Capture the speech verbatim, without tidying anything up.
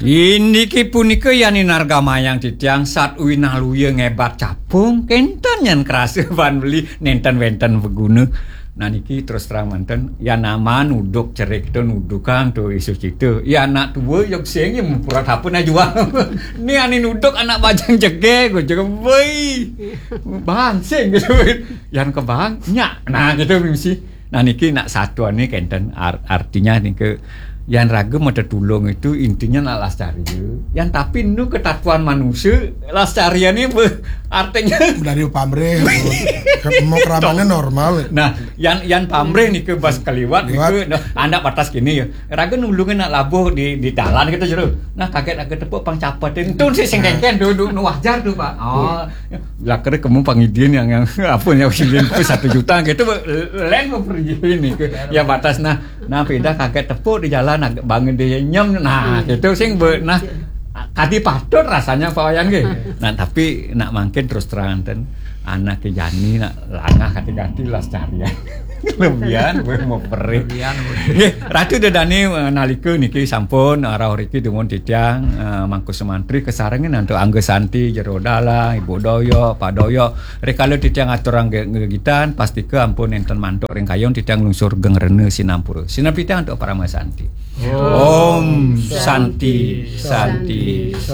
Indiki punika yan inargamayang titiang sat uinaluya ngebat capung, kenten yan krasa ban beli nenten wenten beguna. Nah niki terus terang manten, yan aman uduk cerik tu nudukan tu isu cita. Ya anak tua yog sing ya mupurat apa na jual. Ni ani nuduk anak bajang jege, gua juga woi. Bangsing gitu. Yan kebang, nyak. Nah gitu mesti. Nah niki nak satuan ni kenten ar- artinya nika yan raga mata tulung itu intinya nak lascaria. Yan tapi nu ketatuan manusia lascaria ni be, artinya Dari pamrih, mau keramatnya normal. Nah, yan yan pamrih nika bas keliwat nika nah, anak batas kini ya. Raga nulungin nak labuh di di dalan kita jero. Nah, kaget raga tepuk pang capatin. Tun si sing kengken tu tu nu wajar tu, Pak. Oh. Lah kira kamu pangidin yang yang apa yang pangidin tu satu juta gitu lain mau pergi ini ke ya batas nah nah peda kaget tepuk di jalan agak bangun dia nyem nah gitu sing be, nah kadi patut rasanya Pak Wayan ke. Nah tapi nak mangkin terus terang ten anak ke jani nak langah kati-kati las carian. Lebihan gue mau perih. Nggih, Ratu Dedane eh, nalika niki sampun eh, rauh riki dumun titiang eh, mangku semantri kesarengin antuk Angga Santi, Jero Dalang, Ibu Doyok, Pak Doyok. Rikala titiang aturang ge- gegitan, pastika ampun enten mantuk ring kayun titiang lungsur geng rena sinampura. Sinampi titiang antuk Parama Santi. Om Santi, Santi,